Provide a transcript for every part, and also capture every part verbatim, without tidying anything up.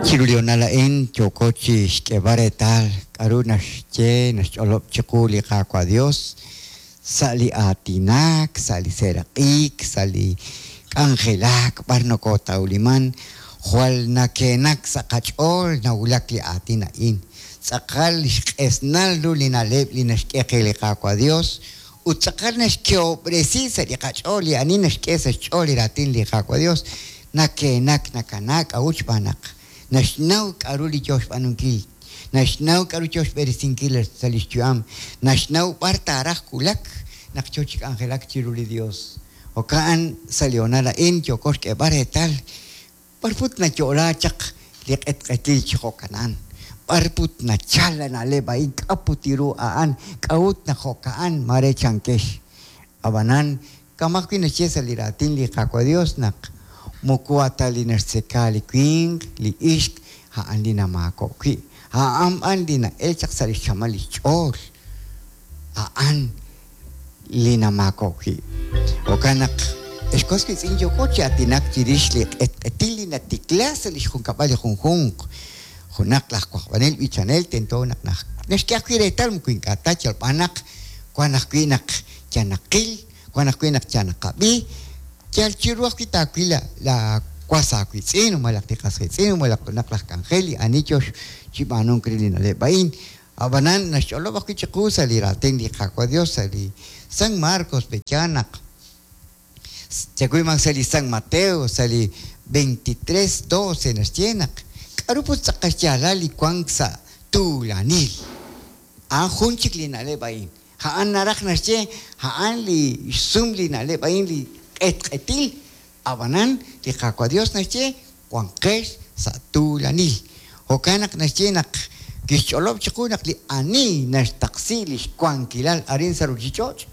Chiru li honal a'in yooko chi xk'eeb'al reetal k'aru naxye naxch'olob' chiqu li Qaawa' Dios sa' li aatinak, sa' li seeraq'ik, sa' li k'anjelak b'ar nokotawliman jwal nakeenak sa' qach'ool nawulak li aatin a'in. Tz'aqal xq'esnal ru li na'leb' li naxk'e qe li Qaawa' Dios ut tz'aqal naxkehob'resi sa' li qach'ool li ani naxk'e sa' xch'ool li raatin li Qaawa' Dios nakeenak nakanaak k'a'ut xb'aan naq naxnaw k'aru li yo xb'aanunkil, naxnaw k'aru yo xb'eresinkil sa' li xyu'am, naxnaw b'ar taaraj wulak naq yo chi k'anjelak chiru li Dios. Jo'kan sa' li honal a'in yooko xk'eeb'al reetal b'ar put nayo'la chaq li q'etq'etil chi jo'kanan, b'ar put nachal la na'leb' a'in k'a put ru a'an k'a'ut naq jo'ka'an mare chankex. Ab'anan kama' ajwi' naxye sa' li raatin li Qaawa' Dios naq moko ata li naxtzeka li winq li ixq a'an li namaako' wi', a'an b'an li na'el chaq sa' li xchamal li xch'ool, a'an li namaako' wi'. Jo'kan naq ex was wiitz'in yooko chi aatinak chirix li q'etq'etil li natikla sa' li xjunkab'al li junjunq. Junaq laj wajb'anel b'ichanel tento naq naxk'e ajwi' reetal moko ink'a' ta yal b'an naq wan ajwi' naq yanaqil, wan ajwi' naq yanaqab'i, yal chiru ajwi' taawil la was aawiitz'in malaj li qas qiitz'in malaj junaq laj k'anjel li ani yo chi b'aanunk re li na'leb' a'in. Ab'anan naxch'olob' ajwi' chiqu sa' li raatin li Qaawa' Dios sa' li San Marcos pe'yaal naq chawiman sa' li San Mateo sa' li veintitrés doce naxye naq k'aru put tz'aqal xyaalal li wank sa' tuulanil. A'an jun chik li na'leb' a'in. A'an naraj naxye a'an li xsum li na'leb' a'in li q'etq'etil. Ab'anan li Qaawa' Dios naxye wanqex sa' tuulanil. Jo'kan naq naxye naq kixch'olob' chiqu naq li ani naxtaqsi li xwankilal arin sa' ruchich'och'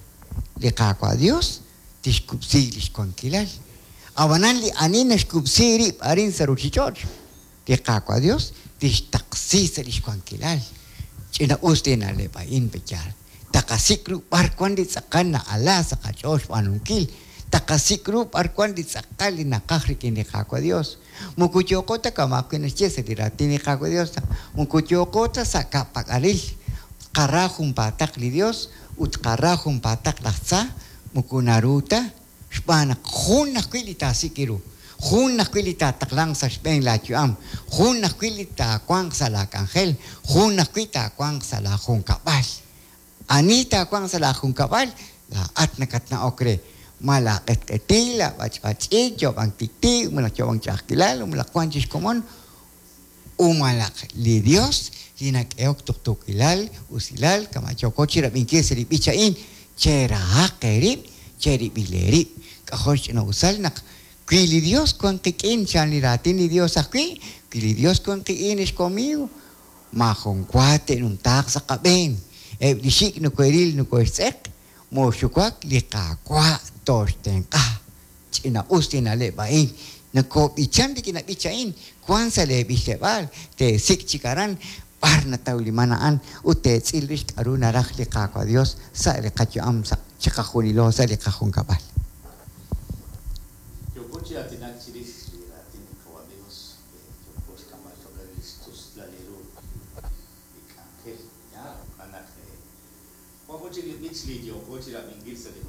li Qaawa' Dios tixkub'si li xwankilal. Ab'anan li ani naxkub'si rib' arin sa' ruchich'och' li Qaawa' Dios tixtaqsi sa' li xwankilal. Ch'ina us li na'leb' a'in pe'yaal. Taqasik' ru b'ar wan li tz'aqal na'ala sa' qach'ool xb'aanunkil. Taqasik' ru b'ar wan li tz'aqal li naqaj rik'in li Qaawa' Dios. Moko yooko ta kama' ajwi' naxye sa' li raatin li Qaawa' Dios, moko yooko ta sa' ka'pak'alil. Qara junpaataq li Dios ut qara junpaataq laj tza moko naru ta xb'aan naq jun ajwi' li taasik' ru, jun ajwi' li taataqlanq sa' xb'een laayu'am, jun ajwi' li taawanq sa' laak'anjel, jun ajwi' taawanq sa' laajunkab'al. Ani taawanq sa' laajunkab'al, laa'at nakatna'ok re. Ma laaq'etq'etil, laab'ach'b'ach'ik, yoob'ank tiktik, malaj yoob'ank ch'a'ajkilal, malaj wan chi xkomon, u malaj li Dios li nak'ehok tuqtuukilal, usilal, kama' yooko chi rab'inkil sa' li b'ich a'in, cherahaq eerib', cherib'il eerib'. K'ajo' xch'ina'usal naq wi li Dios wan qik'in, chan li raatin li Dios ajwi', wi li Dios wan qik'in ex conmigo, maajun wa te'numtaaq sa' qab'een. Eb' li xik' nokoeril nokoextz'eq, moxuwak li Qaawa' toxtenq'a. Ch'ina'us li na'leb' a'in. Nakob'ichan rik'in b'ich a'in, wan sa' leeb'ichleb'aal, teesik' chik aran, b'ar natawliman a'an, ut teetz'il rix k'aru naraj li Qaawa' Dios sa' li qayu'am sa' chiqajunilo sa' li qajunkab'al. Yooko chi aatinak chirix li raatin li Qaawa' Dios, yooko xk'amb'al choq' re li xtuslal ru li k'anjel. Ya, jo'kan naq wan jun chik li b'ich li yooko chi rab'inkil sa' li